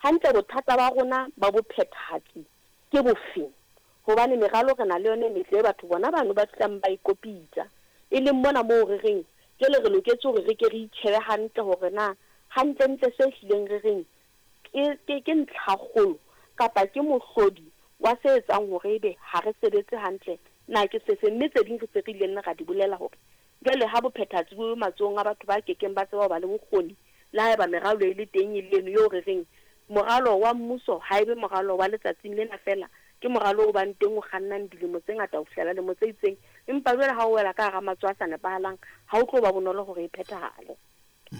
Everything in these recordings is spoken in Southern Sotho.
Hantle bothata ba rona ba bophethahatsi ke bofeng? Hobane meralo re na le yona e metle e batho bona bano ba fihlang ba e kopitsa. E leng mona moo re reng jwale re loketse hore re ke re itjhebe hantle hore na hantlentle se hlileng re reng ke, ke, ke ntlhakgolo kapa ke mohlodi wa se etsang hore ebe ha re sebetse hantle na ke sefe. Mme tse ding re se re ile nna ra di bolela hore jwale ha bophethahatsi bo matsohong a batho ba kekeng ba tseba ho ba le bokgoni, le haeba meralo e le teng e le eno eo re reng moralo wa mmuso ha e be moralo wa letsatsing lena feela, ke moralo o bang teng o kgannang dilemo tse ngata ho fihlela lemo tse itseng, empa jwale ha o wela ka hara matsoho a sa nepahalang, ha ho tlo ba bonolo hore e phethahale.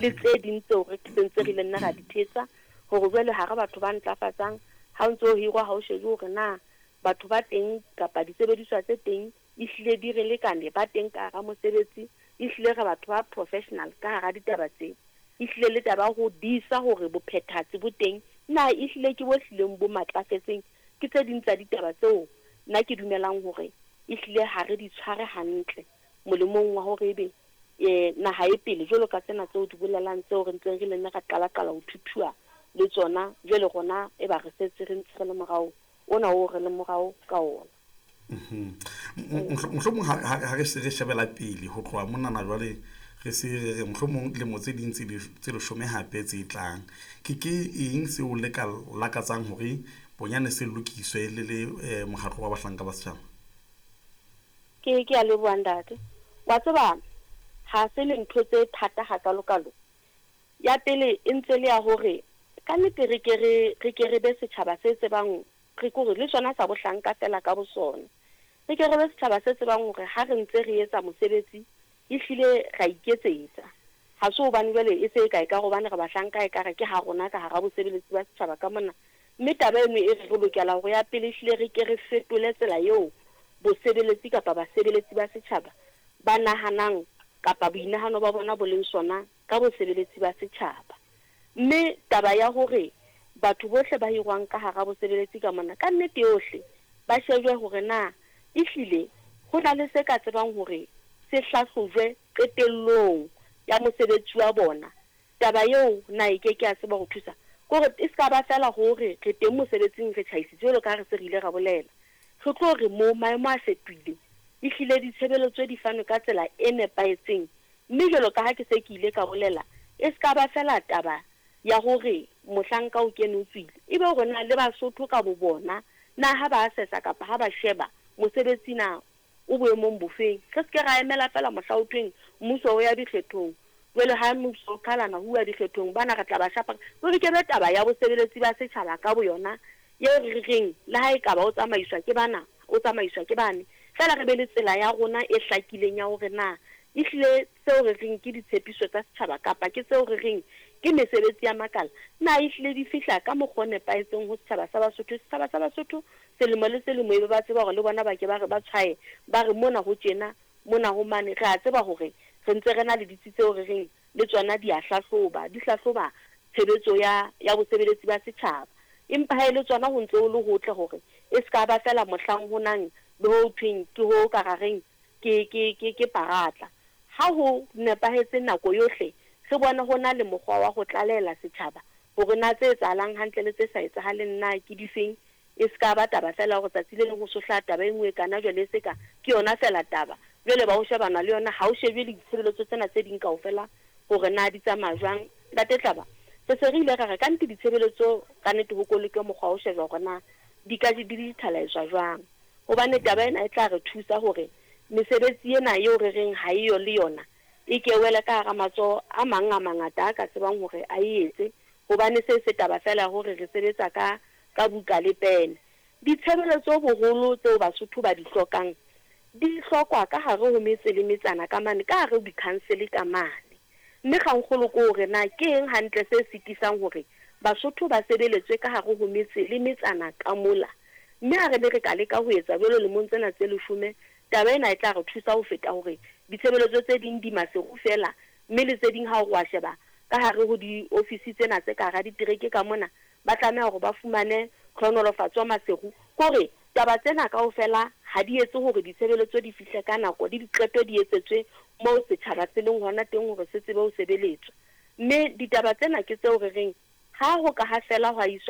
Le tse ding tseo re sentse re ile nna ra di thetsa hore jwale ha re batho ba ntlafatsang, ha o ntso o hirwa ha o shebe hore na batho ba teng kapa disebediswa tse teng ehlile di re lekane, ba teng ka hara mosebetsi, ehlile re batho ba professional ka hara ditaba tse. Ehlile le taba ya ho disa hore bophethahatsi bo teng na ehlile ke bo hlileng bo matlafetseng, ke tse ding tsa ditaba tseo nna ke dumelang hore ehlile ha re di tshware hantle molemong wa hore ebe naha e pele jwalo ka tsena tseo di bolelang tseo re ntseng re le nne ra qala-qala ho thuthua le tsona, jwale rona e ba re setse re ntse re le morao ona oo re leng morao ka ona. Mohlomong ha re se re shebela pele ho tloha monana jwale re se re re mohlomong dilemo tse ding tse leshome hape tse tlang, ke ke eng seo le ka lakatsang hore bonyane se lokiswe le le mokgatlo wa bahlanka ba setjhaba? Ke, ke a leboha ntate. Wa tseba ha se le ntho tse thata hakalo-kalo. Ya pele e ntse le ya hore ka nnete re ke re, re ke re be setjhaba se tsebang, re kore le sona sa bohlanka feela ka bosona. Re ke re be setjhaba se tsebang hore ha re ntse re etsa mosebetsi, ehlile ra iketsetsa. Ha se hobane jwale e se e ka e ka hobane re bahlanka ekare ke ha rona ka hara bosebeletsi ba setjhaba ka mona. Mme taba eno e re re lokela hore ya pele ehlile re ke re fetole tsela eo bosebeletsi kapa basebeletsi ba setjhaba ba nahanang kapa boinahano ba bona bo leng sona ka bosebeletsi ba setjhaba. Mme taba ya hore batho bohle ba hirwang ka hara bosebeletsi ka mona, ka nnete yohle ba shejwe hore na ehlile ho na le se ka tsebang hore se hlahlojwe qetellong ya mosebetsi wa bona. Taba eo na e ke ke ya tseba ho thusa? Ke hore e se ka ba feela hore re teng mosebetsing re tjhaisitse jwalo ka ha re se re ile ra bolela. Re tlo re mo maemo a fetohile, ehlile ditshebeletso di fanwe ka tsela e nepahetseng. Mme jwalo ka ha ke se ke ile ka bolela, e se ka ba feela taba ya hore mohlanka o kene o tswile, ebe hore na le Basotho ka bo bona na ha ba assessa kapa ha ba sheba mosebetsi na o boemong bofeng. Re se ke ra emela feela mohla ho thweng mmuso o ya dikgethong. Jwale ha mmuso o qhalana ho uwa dikgethong, bana re tla ba shapa. Ruri ke be taba ya bosebeletsi ba setjhaba ka boyona eo re reng le ha ekaba o tsamaiswa ke bana, o tsamaiswa ke bane, feela re be le tsela ya rona e hlakileng ya hore na ehlile seo re reng ke ditshepiso tsa setjhaba kapa ke seo re reng ke mesebetsi ya makala, na ehlile di fihla ka mokgwa o nepahetseng ho setjhaba sa Basotho. Setjhaba sa Basotho selemo le selemo ebe ba tseba hore le bona ba ke ba re ba tshwaye ba re mona ho tjena, mona ho mane. Re a tseba hore re ntse re na le ditsi tseo re reng le tsona di a hlahloba, di hlahloba tshebetso ya, ya bosebeletsi ba setjhaba. Empa ha e le tsona ho ntse ho le hotle hore e se ka ba feela mohlang ho nang le ho thweng ke ho ka ra reng ke, ke, ke, ke paratla. Ha ho nepahetse nako yohle re bone ho na le mokgwa wa ho tlalehela setjhaba hore na tse etsahalang hantle le tse sa etsahaleng na ke difeng. E se ka ba taba feela hore tsatsi le leng ho so hlaha taba e nngwe e kana jwale e se ka ke yona feela taba. Jwale ba ho shebana le yona, ha ho shejwe le ditshebeletso tsena tse ding kaofela hore na di tsamaya jwang. Ntate Tlaba, re se re ile ra re ka nnete ditshebeletso ka nnete ho koleke mokgwa wa ho shejwa hore na di ka di digitalize-wa jwang. Hobane taba ena e tla re thusa hore mesebetsi ena eo re reng ha eyo le yona e ke wele ka hara matsoho a mang a mangata a ka tsebang hore a e etse. Hobane se se taba feela ya hore re sebetsa ka, ka buka le pene. Ditshebeletso boholo tseo Basotho ba di hlokang di hlokwa ka hare ho metse le metsana ka mane, ka hare ho dikhansele ka mane. Mme kgangkgolo ke hore na ke eng hantle se sitisang hore Basotho ba sebeletswe ka hare ho metse le metsana ka mola. Mme ha re ne re ka leka ho etsa jwalo lemong tsena tse leshome, taba ena e tla re thusa ho feta hore ditshebeletso tse ding di maseru feela, mme le tse ding ha o re wa sheba ka hare ho diofisi tsena tse ka hara ditereke ka mona, ba tlameha hore ba fumane tlhohonolofatso maseru. Ke hore taba tsena kaofela ha di etse hore ditshebeletso di fihle ka nako le diqeto di etsetswe moo setjhaba se leng hona teng hore se tsebe ho sebeletswa. Mme ditaba tsena ke tseo re reng ha ho ka ha fela hwa iswa